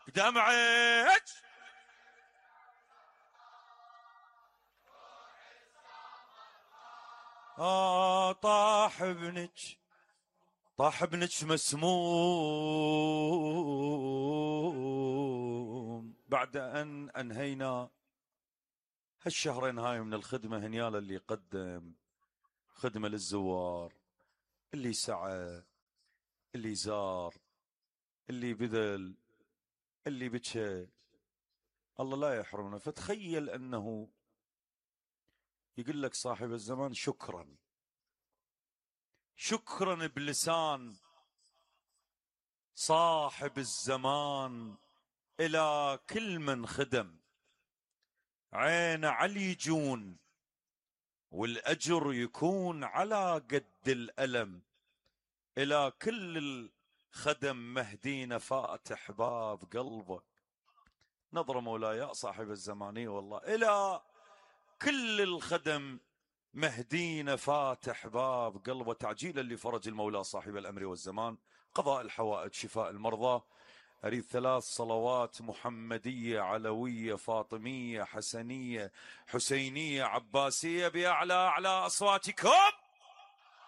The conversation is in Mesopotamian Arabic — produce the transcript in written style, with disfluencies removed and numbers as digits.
بدمعك طاح ابنك مسموم. بعد أن أنهينا هالشهرين هاي من الخدمة، هنيالا اللي قدم خدمة للزوار، اللي سعى، اللي زار، اللي بذل، اللي بكى، الله لا يحرمنا. فتخيل أنه يقول لك صاحب الزمان شكرا، شكرا بلسان صاحب الزمان إلى كل من خدم. عين علي يجون والأجر يكون على قد الألم. إلى كل الخدم مهدينا فاتح باب قلبك. نظرة مولاي صاحب الزمانية والله. إلى كل الخدم مهدينا فاتح باب قلبه، تعجيلا لفرج المولى صاحب الأمر والزمان، قضاء الحوائج، شفاء المرضى. أريد 3 صلوات محمدية علوية فاطمية حسنية حسينية عباسية بأعلى أصواتكم.